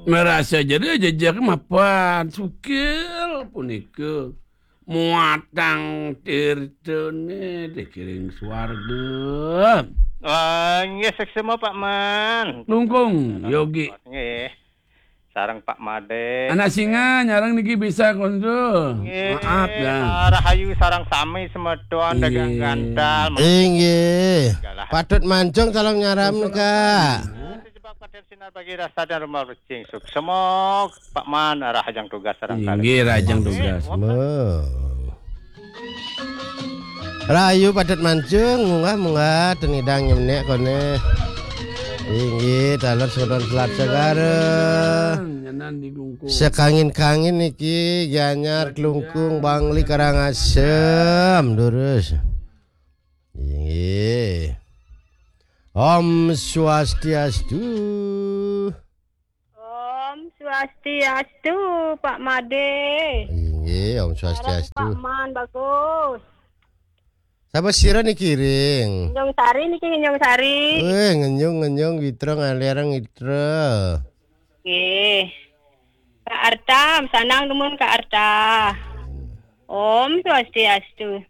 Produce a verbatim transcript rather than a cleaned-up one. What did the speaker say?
Merasa jadi jejak mapan sukil punika muatang tirtane dikiring swarga. Wah, nggih, seksema Pak Man. Lungkung, Yogi. Nggih. Sareng Pak Made. Anak singa nyarang niki bisa konsul. Nggih. Maaf ya. Rahayu sareng sami semeton Nggih. dagang gantal. Inggih. Patut mancung calon nyaram, Kak. Sejebak patir sinar bagi rasa dan rumah rejing suksema Pak Man, rahajeng tugas sareng Inggih, rahajeng tugas. Mo. Rahayu patut mancung, munggah munggah ten idang nyemnek kone. Inggih, taler sodon selat segara. Nyanan di Lungkung. Sekangin-kangin niki Gianyar Klungkung Bangli Karangasem, durus. Inggih. Om Swastiastu. Om Swastiastu, Pak Made. Inggih, Om Swastiastu. Pak Man, bagus. Sapa sira niki ring? Ngenyung Sari niki, Ngenyung Sari. Eh, ngenyung ngenyung witra ngalerang witra. Nggih. Kak Arta, sanang dumun Kak Arta. Om Swastiastu.